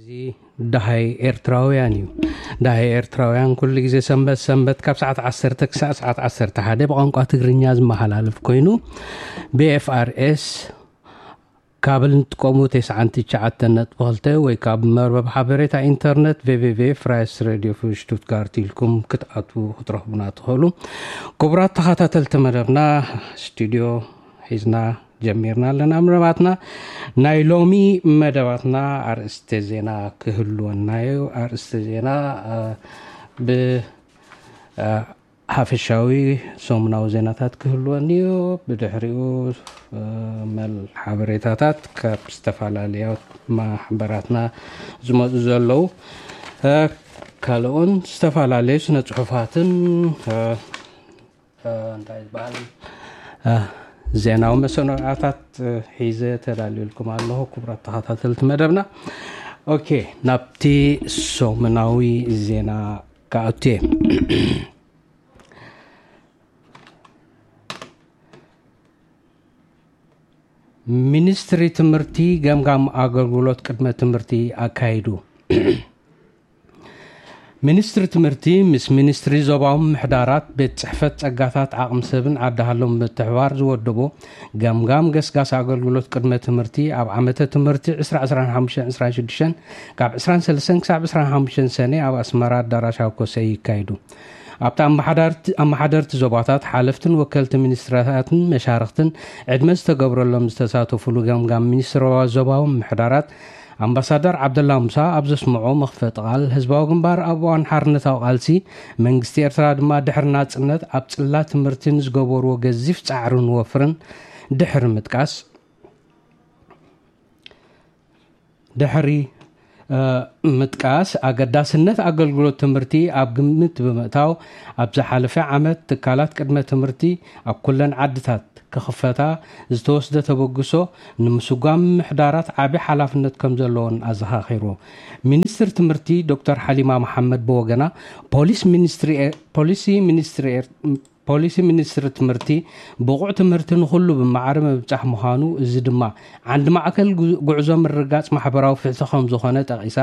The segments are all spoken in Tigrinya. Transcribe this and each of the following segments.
እዚ ደሃይ ኤርትራውያን እዩ። ደሃይ ኤርትራውያን ኩሉ ግዜ ሰንበት ሰንበት ካብ ሰዓት ዓሰርተ ክሳብ ሰዓት ዓሰርተ ሓደ ብቋንቋ ትግርኛ ዝመሓላለፍ ኮይኑ፣ ብ ኤፍ ኣር ኤስ ካብል ንጥቀሙ ተስዓን ትሽዓተን ነጥቢ ክልተ ወይ ካብ መርበብ ሓበሬታ ኢንተርነት ቨ ቨ ቨ ፍራይስ ሬድዮ ፍ ሽቱትጋርት ኢልኩም ክትኣትዉ ክትረኽቡና ትኽእሉ። ክቡራት ተኸታተልቲ መደብና፣ ስቱድዮ ሒዝና ጀሚርና ኣለና መደባትና። ናይ ሎሚ መደባትና ኣርእስተ ዜና ክህልወና እዩ። ኣርእስተ ዜና፣ እ፣ ብ-፣ እ፣ ሓፈሻዊ ሰሙናዊ ዜናታት ክህልወኒ እዩ። ብድሕሪኡ፣ እ፣ መል ሓበሬታታት ካብ ዝተፈላለያ ማሕበራትና ዝመፁ ዘለዉ፣ እ፣ ካልኦን ዝተፈላለዩ ስነ ጽሑፋትን፣ እ፣ እ፣ እንታይ ዝበሃል፣ እ፣ ዜናዊ መሰናዕታት፣ እ፣ ሒዘ ተዳልየልኩም ኣለኹ። ክቡራት ተኸታተልቲ መደብና፣ ኦኬ፣ ናብቲ ሰሙናዊ ዜና ክኣቱ እየ። ሚኒስትሪ ትምህርቲ ገምጋም ኣገልግሎት ቅድመ ትምህርቲ ኣካይዱ። ሚኒስትሪ ትምህርቲ ምስ ሚኒስትሪ ዞባዊ ምሕዳራት፣ ቤት ጽሕፈት ጸጋታት ዓቕሚ ሰብን ዓዲ ሃሎን ብምትሕባር ዝወደቦ ገምጋም ገስጋስ ኣገልግሎት ቅድመ ትምህርቲ ኣብ ዓመተ ትምህርቲ ዕስራ ዕስራን ሓሙሽተን ዕስራን ሽዱሽተን ካብ ዕስራን ሰለስተን ክሳብ ዕስራን ሓሙሽተን ሰነ ኣብ ኣስመራ ኣዳራሽ ኣኮሰ ይካየዱ። ኣብቲ ኣመሓዳርቲ፣ ኣመሓደርቲ ዞባታት፣ ሓለፍትን ወከልቲ ሚኒስትሪታትን መሻርኽትን ዕድመ ዝተገብረሎም ዝተሳተፉሉ ገምጋም ሚኒስትሪ ዞባዊ ምሕዳራት ኣምባሳደር ዓብደላ ሙሳ ኣብ ዘስምዖ መኽፈጢ ቃል፣ ህዝባዊ ግንባር ኣብ እዋን ሓርነታዊ ቃልሲ፣ መንግስቲ ኤርትራ ድማ ድሕሪ ናጽነት ኣብ ጽላት ትምህርቲ ንዝገበርዎ ገዚፍ ጻዕርን ወፍርን ድሕሪ ምጥቃስ፣ ድሕሪ፣ እ፣ ምጥቃስ ኣገዳስነት ኣገልግሎት ትምህርቲ ኣብ ግምት ብምእታው፣ ኣብ ዝሓለፈ ዓመት ትካላት ቅድመ ትምህርቲ ኣብ ኩለን ዓድታት ክኽፈታ ዝተወስደ ተበግሶ ንምስጓም ምሕዳራት ዓቢ ሓላፍነት ከም ዘለዎን ኣዘኻኺሩ። ሚኒስትር ትምህርቲ ዶክተር ሓሊማ መሓመድ ብወገና፣ ፖሊስ ሚኒስትሪ ኤ-፣ ፖሊሲ ሚኒስትሪ ኤር-፣ ፖሊሲ ሚኒስትሪ ትምህርቲ ብቑዕ ትምህርቲ ንኹሉ ብማዕረ ምብጻሕ ምዃኑ፣ እዚ ድማ ዓንዲ ማእከል ጉ-፣ ጉዕዞ ምርጋጽ ማሕበራዊ ፍትሒ ከም ዝኾነ ጠቒሳ፣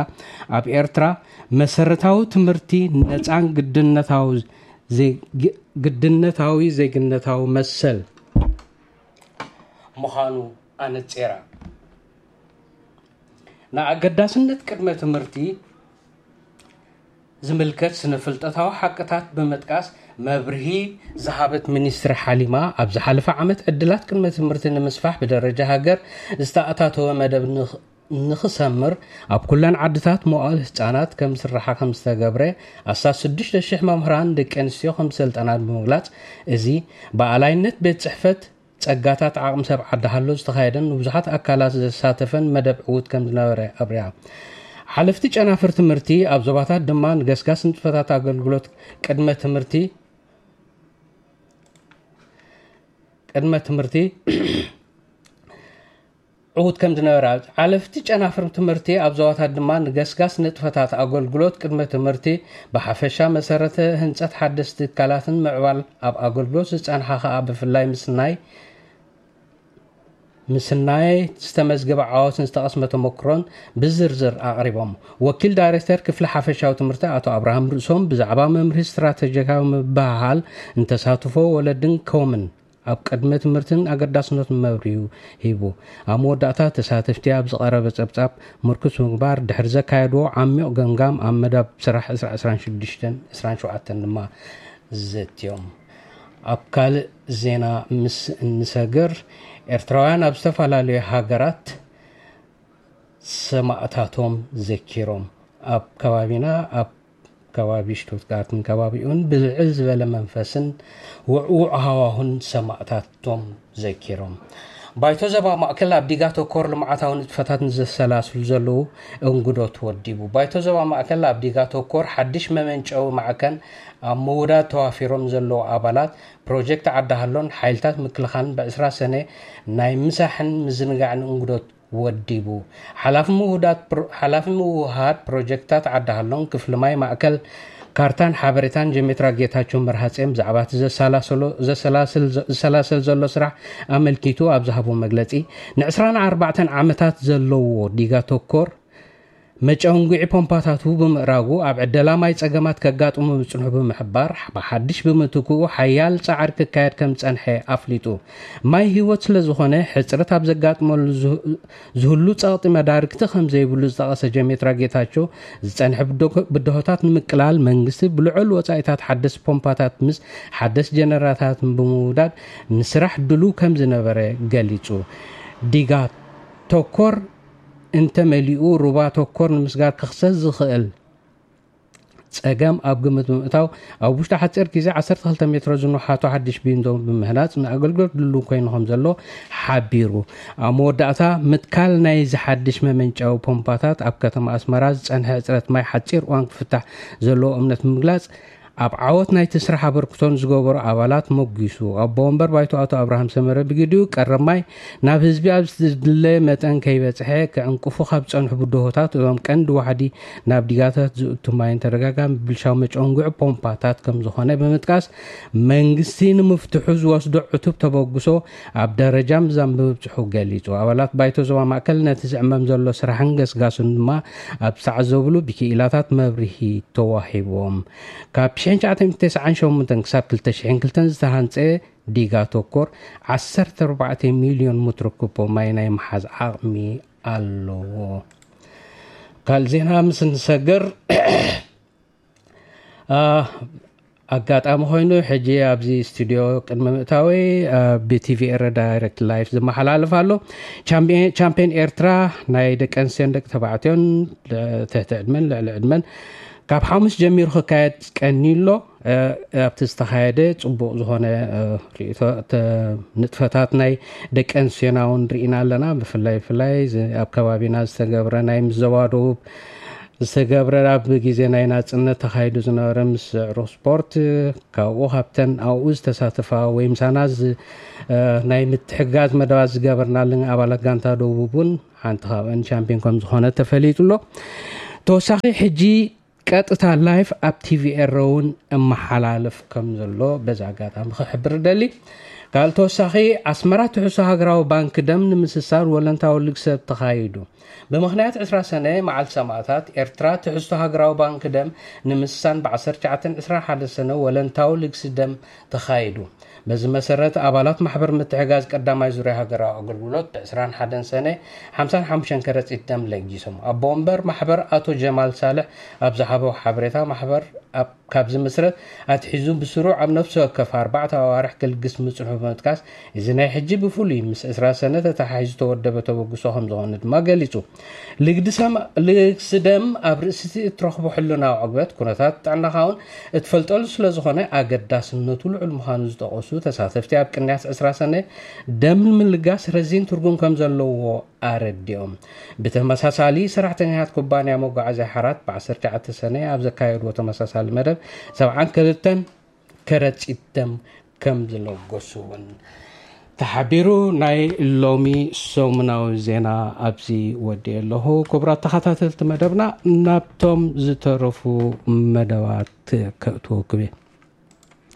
ኣብ ኤርትራ መሰረታዊ ትምህርቲ ነጻን ግድነታዊ ዜግ-፣ ግድነታዊ ዜግነታዊ መሰል ምዃኑ ኣነጺራ። ንኣገዳስነት ቅድመ ትምህርቲ ዝምልከት ስነ-ፍልጠታዊ ሓቅታት ብምጥቃስ መብርሂ ዝሃበት ሚኒስትሪ ሓሊማ፣ ኣብ ዝሓለፈ ዓመት ዕድላት ቅድመ ትምህርቲ ንምስፋሕ ብደረጃ ሃገር ዝተኣታተወ መደብ ንኽ-፣ ንኽሰምር ኣብ ኩለን ዓድታት መዋእለ ህጻናት ከም ዝስራሓ ከም ዝተገብረ፣ ኣስታት ሽዱሽተ ሽሕ መምህራን ደቂ ኣንስትዮ ከም ዝሰልጠና ብምግላጽ፣ እዚ ብኣላይነት ቤት ጽሕፈት ጸጋታት ዓቕሚ ሰብ ዓዲ ሃሎ ዝተኻየደን ንብዙሓት ኣካላት ዘሳተፈን መደብ ዕዉት ከም ዝነበረ ኣብሪሃ። ሓለፍቲ ጨናፍር ትምህርቲ ኣብ ዞባታት ድማ ንገስጋስ ንጥፈታት ኣገልግሎት ቅድመ ትምህርቲ፣ ቅድመ ትምህርቲ ዕዉት ከም ዝነበረ፣ ሓለፍቲ ጨናፍር ትምህርቲ ኣብ ዞባታት ድማ ንገስጋስ ንጥፈታት ኣገልግሎት ቅድመ ትምህርቲ ብሓፈሻ፣ መሰረተ ህንጸት ሓደስቲ ትካላትን ምዕባል ኣብ ኣገልግሎት ዝጸንሓ ከኣ ብፍላይ ምስናይ ምስናይ ዝተመዝገበ ዓወትን ዝተቐስመ ተመክሮን ብዝርዝር ኣቕሪቦም። ወኪል ዳይሬክተር ክፍሊ ሓፈሻዊ ትምህርቲ ኣቶ ኣብርሃም ርእሶም ብዛዕባ መምርሂ ስትራተጂካዊ ምብህሃል ንተሳትፎ ወለድን ኮምን ኣብ ቅድመ ትምህርትን ኣገዳስነቱን መብርሂ ሂቡ። ኣብ መወዳእታ ተሳተፍቲ ኣብ ዝቐረበ ጸብጻብ ምርኩስ ምግባር ድሕሪ ዘካየድዎ ዓሚቕ ገምጋም ኣብ መደብ ስራሕ ዕስራ ዕስራን ሽዱሽተን ዕስራን ሸውዓተን ድማ ዘትዮም። ኣብ ካልእ ዜና ምስ እንሰግር፣ ኤርትራውያን ኣብ ዝተፈላለዩ ሃገራት ሰማእታቶም ዘኪሮም። ኣብ ከባቢና፣ ኣብ ከባቢ ሽቱትጋርትን ከባቢኡን ብልዕል ዝበለ መንፈስን ውዕዉዕ ሃዋሁን ሰማእታቶም ዘኪሮም። ባይቶ ዞባ ማእከል ኣብ ዲጋ ተኮር ልምዓታዊ ንጥፈታት ንዘሰላስሉ ዘለዉ እንግዶት ወዲቡ። ባይቶ ዞባ ማእከል ኣብ ዲጋ ተኮር ሓድሽ መመንጨዊ ማዕከን ኣብ ምውዳድ ተዋፊሮም ዘለዉ ኣባላት ፕሮጀክት ዓዲ ሃሎን ሓይልታት ምክልኻልን ብዕስራ ሰነ ናይ ምሳሕን ምዝንጋዕን እንግዶት ወዲቡ። ሓላፊ ምውዳድ ፕሮ-፣ ሓላፊ ምውሃድ ፕሮጀክታት ዓዲ ሃሎን ክፍሊ ማይ ማእከል ካርታን ሓበሬታን ጀሜትራ ጌታቸው መርሃጼም ብዛዕባ እቲ ዘሰላሰሎ-፣ ዘሰላስል-፣ ዝሰላሰል ዘሎ ስራሕ ኣመልኪቱ ኣብ ዝሃቦ መግለጺ፣ ንዕስራን ኣርባዕተን ዓመታት ዘለዎ ዲጋ ተኮር መጨንጉዒ ፖምፓታቱ ብምእራጉ ኣብ ዕደላ ማይ ጸገማት ከጋጥሙ ምጽንሑ ብምሕባር፣ ብሓድሽ ብምትክኡ ሓያል ጻዕሪ ክካየድ ከም ዝጸንሐ ኣፍሊጡ። ማይ ህይወት ስለ ዝኾነ፣ ሕጽረት ኣብ ዘጋጥመሉ ዝህ- ዝህሉ ጸቕጢ መዳርግቲ ከም ዘይብሉ ዝጠቐሰ ጀሜትራ ጌታቸው፣ ዝጸንሐ ብዶ- ብድሆታት ንምቅላል መንግስቲ ብልዑል ወጻኢታት ሓደስ ፖምፓታት ምስ ሓደስ ጀነራታት ብምውዳድ ንስራሕ ድሉ ከም ዝነበረ ገሊጹ። ዲጋ ተኮር እንተመሊኡ፣ ሩባ ተኮር ንምስጋር ክኽሰት ዝኽእል ጸገም ኣብ ግምት ብምእታው፣ ኣብ ውሽጢ ሓጺር ግዜ ዓሰርተ ክልተ ሜትሮ ዝንውሓቱ ሓድሽ ቢንዶ ብምህናጽ ንኣገልግሎት ድሉው ኮይኑ ከም ዘሎ ሓቢሩ። ኣብ መወዳእታ፣ ምትካል ናይዚ ሓድሽ መመንጨዊ ፖምፓታት ኣብ ከተማ ኣስመራ ዝጸንሐ ሕጽረት ማይ ሓጺር እዋን ክፍታሕ ዘለዎ እምነት ብምግላጽ፣ ኣብ ዓወት ናይቲ ስራሕ ኣበርክቶ ንዝገበሩ ኣባላት ሞጒሱ። ኣቦ ወንበር ባይቶ ኣቶ ኣብርሃም ሰመረ ብግዲኡ፣ ቀረብ ማይ ናብ ህዝቢ ኣብ ዝድለ መጠን ከይበጽሐ ክዕንቅፉ ካብ ዝጸንሑ ብድሆታት እቶም ቀንዲ ዋሕዲ ናብ ዲጋታት ዝእቱ ማይን ተደጋጋሚ ብልሻው መጨንጉዒ ፖምፓታት ከም ዝኾነ ብምጥቃስ፣ መንግስቲ ንምፍትሑ ዝወስዶ ዕቱብ ተበግሶ ኣብ ደረጃ ምዛን ምብጽሑ ገሊጹ። ኣባላት ባይቶ ዞባ ማእከል ነቲ ዝዕመም ዘሎ ስራሕን ገስጋሱን ድማ ኣብ ዝተዓዘብሉ ብክኢላታት መብርሂ ተዋሂቦም። ካብ ሽሕን ትሽዓተ ሚእትን ተስዓን ሸሞንተን ክሳብ ክልተ ሽሕን ክልተን ዝተሃንጸ ዲጋ ተኮር ዓሰርተ ኣርባዕተ ሚልዮን ሜትሮ ኩቦ ማይ ናይ ምሓዝ ዓቕሚ ኣለዎ። ካልእ ዜና ምስ እንሰግር፣ አ፣ ኣጋጣሚ ኮይኑ ሕጂ ኣብዚ ስቱዲዮ ቅድሚ ምእታወይ፣ አ፣ ብቲቪ ኤረ ዳይሬክት ላይፍ ዝመሓላለፍ ኣሎ። ቻምፒየን ቻምፒየን ኤርትራ ናይ ደቂ ኣንስትዮን ደቂ ተባዕትዮን፣ እ፣ ትሕቲ ዕድመን ልዕሊ ዕድመን ካብ ሓሙስ ጀሚሩ ክካየድ ቀንዩ ኣሎ። እ፣ ኣብቲ ዝተኻየደ ጽቡቕ ዝኾነ፣ እ፣ ርእይቶ፣ ተ-፣ ንጥፈታት ናይ ደቂ ኣንስትዮና እውን ርኢና ኣለና። ብፍላይ፣ ብፍላይ ዝ-፣ ኣብ ከባቢና ዝተገብረ ናይ ምስ ዞባ ደቡብ ዝተገብረ ኣብ ግዜ ናይ ናጽነት ተኻይዱ ዝነበረ ምስዕሩ ስፖርት፣ ካብኡ ካብተን ኣብኡ ዝተሳተፋ ወይ ምሳና ዝ-፣ እ፣ ናይ ምትሕጋዝ መደባት ዝገበርናለን ኣባላት ጋንታ ደቡብ እውን ሓንቲ ካብአን ቻምፒዮን ከም ዝኾነ ተፈሊጡ ኣሎ። ተወሳኺ ሕጂ ቀጥታ ላይፍ ኣብ ቲቪ ኤረ እውን እመሓላልፍ ከም ዘሎ በዚ ኣጋጣሚ ክሕብር እደሊ። ካልእ ተወሳኺ፣ ኣስመራ ትሕዝቶ ሃገራዊ ባንክ ደም ንምስሳር ወለንታዊ ልግሰት ተኻይዱ። ብምኽንያት ዕስራ ሰነ መዓል ሰማእታት ኤርትራ ትሕዝቶ ሃገራዊ ባንክ ደም ንምስሳን ብ ዓሰርተ ትሽዓተ ዕስራ ሓደ ሰነ ወለንታዊ ልግሲ ደም ተኻይዱ። በዚ መሰረት ኣባላት ማሕበር ምትሕጋዝ ቀዳማይ ዙርያ ሃገራዊ ኣገልግሎት ብ ዕስራን ሓደን ሰነ ሓምሳን ሓሙሽተን ከረጺት ደም ለጊሶም። ኣቦ ወንበር ማሕበር ኣቶ ጀማል ሳልሕ ኣብ ዝሃቦ ሓበሬታ፣ ማሕበር ኣብ ካብ ዝምስረት ኣትሒዙ ብስሩዕ ኣብ ነፍሲ ወከፍ ኣርባዕተ ኣዋርሕ ክልግስ ምጽንሑ ብምጥቃስ፣ እዚ ናይ ሕጂ ብፍሉይ ምስ ዕስራ ሰነ ተተሓሒዙ ዝተወደበ ተበግሶ ከም ዝኾነ ድማ ገሊጹ። ልግዲ ሰማ-፣ ልግሲ ደም ኣብ ርእሲቲ እትረኽቦ ሕልናዊ ዕግበት፣ ኩነታት ጥዕናኻ እውን እትፈልጠሉ ስለ ዝኾነ ኣገዳስነቱ ልዑል ምዃኑ ዝጠቐሱ ተሳተፍቲ፣ ኣብ ቅንያት ዕስራ ሰነ ደም ምልጋስ ረዚን ትርጉም ከም ዘለዎ ኣረዲኦም። ብተመሳሳሊ፣ ሰራሕተኛታት ኩባንያ መጓዓዝያ ሓራት ብ ዓሰርተ ትሽዓተ ሰነ ኣብ ዘካየድዎ ተመሳሳሊ መደብ ሰብዓን ክልተን ከረጺት ደም ከም ዝለገሱ እውን ተሓቢሩ። ናይ ሎሚ ሰሙናዊ ዜና ኣብዚ ወዲኤ ኣለኹ። ክቡራት ተኸታተልቲ መደብና፣ ናብቶም ዝተረፉ መደባት ከእትወኩም እየ።